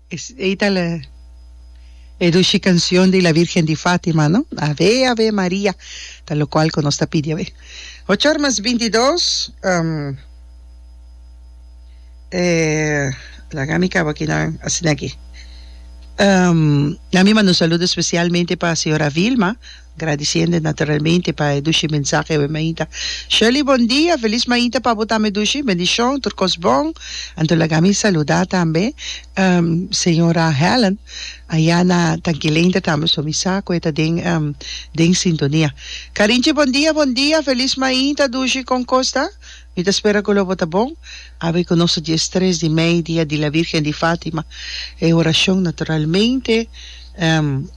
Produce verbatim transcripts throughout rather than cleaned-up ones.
Esey ta e dushi cancion di la Virgen di Fatima, no? Ave, Ave Maria, ta locual cu nos ta pidi awe. Ocho or mas binti dos, um, eh, laga mi caba aki nan, asina aki. Um, na mi manda un saludo especialmente pa señora Vilma, gradiciendo naturalmente pa e dushi mensahe awe mainta. Shirley, bon dia, feliz mainta pa bo tambe dushi, bendicion, tur cos bon. Anto laga mi saluda tambe um, señora Helen, aya na Tanquilenta tambe, so mi sa cu e ta den, um, den sintonia. Carinche, bon dia, bon dia, feliz mainta dushi, con cos ta? Mi ta spera cu lo bo ta bon. Awe cu nos ta dies tres di mei, dia di la Virgen di Fatima. E oracion naturalmente um,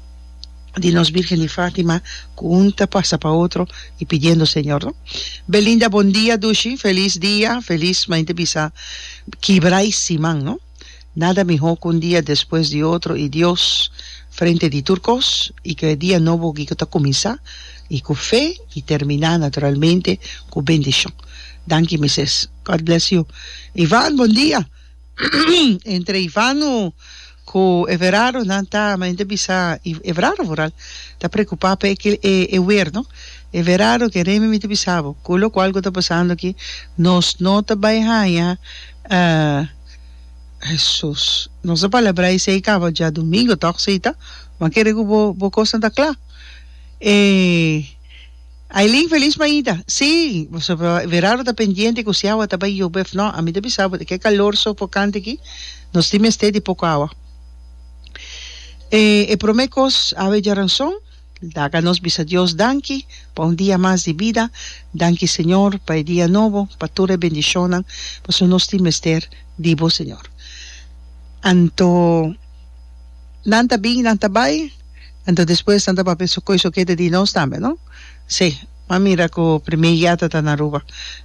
di nos Virgen di Fatima cu un ta pasa pa otro y pidiendo Señor, no? Belinda, bon dia dushi, feliz dia, feliz mainta bisa kibra y siman, no? Nada miho cu un dia despues di otro y Dios frente di tur cos y cu e dia nobo ki cu ta cuminsa y cu fe y termina naturalmente cu bendicion. Danki mises. God bless you. Ivan, bon dia. Entre Ivano cu Everardo nan ta, ma hende bisa Everardo vooral, ta preocupa pa e e weer, no? Everardo ke Remy mi ta bisa bo, cu locual cu ta pasando aki, nos no ta bay haya, Jesus, nos a palabra esey caba djadomingo toch, si ta? Bo a kere cu bo bo cosnan ta cla. E Aileen, feliz mainta. Sí, pasobra Everardo ta pendiente cu si awa ta bay yobe of no. Ami ta bisa bo, ke calor sofocante aki, nos tin mester di poco awa. E e prome cos, awe djaranson, laga nos bisa Dios danki pa un dia mas di bida. Danki Señor pa e dia nobo, pa tur e bendicionnan, pasobra nos tin mester di bo Señor. Anto nan ta bin, nan ta bai, anto despues nan ta papia su koe sokete di nos tambe, no? Sí, m'a mira ku primer yata ta na Aruba,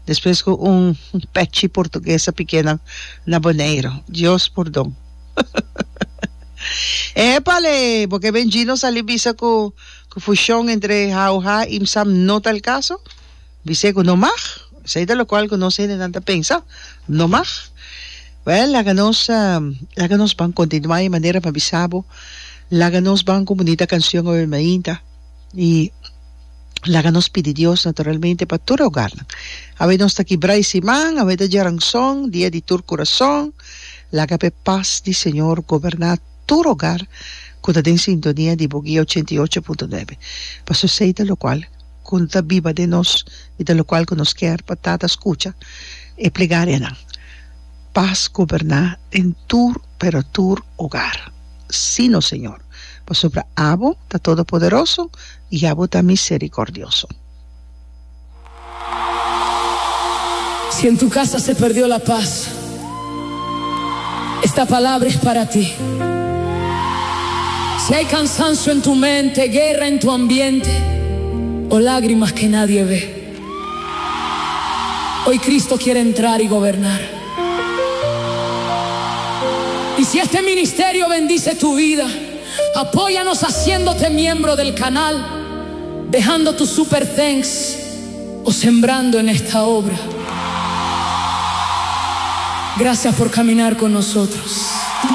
despues ku un pechi portugues a pike nan na Boneiru. Dios pordon. Epale! Bo ke ben Gino sali bisa ku ku fushon entre H U H i M S A M no ta el kaso? Bis'é ku no mag. Esei ta lokual ku nos hendenan ta pensa. No mag. Wèl, laga nos laga nos ban kontinuá e manera pa bisa bo. Laga nos ban ku bunita kanshon awe mainta i laga nos pidi Dios naturalmente pa tur e hogarnan. Awe nos ta kibra e siman, awe ta djaranson, dia di tur kurason. Laga pa e pas di Señor goberná tur hogar ku ta den sintonia di Boguia ochenta i ocho punto nuebe. Pasobra esei ta lokual ku ta biba den nos i ta lokual ku nos kier pa Tata skucha e plegarianan. Pas goberná den tur pero tur hogar. Sí, nos Señor, pasobra abo ta Todopoderoso i abo ta Misericordioso. Si en tu casa se perdió la paz, esta palabra es para ti. Si hay cansancio en tu mente, guerra en tu ambiente o lágrimas que nadie ve, hoy Cristo quiere entrar y gobernar. Y si este ministerio bendice tu vida, apóyanos haciéndote miembro del canal, dejando tu super thanks o sembrando en esta obra. Gracias por caminar con nosotros.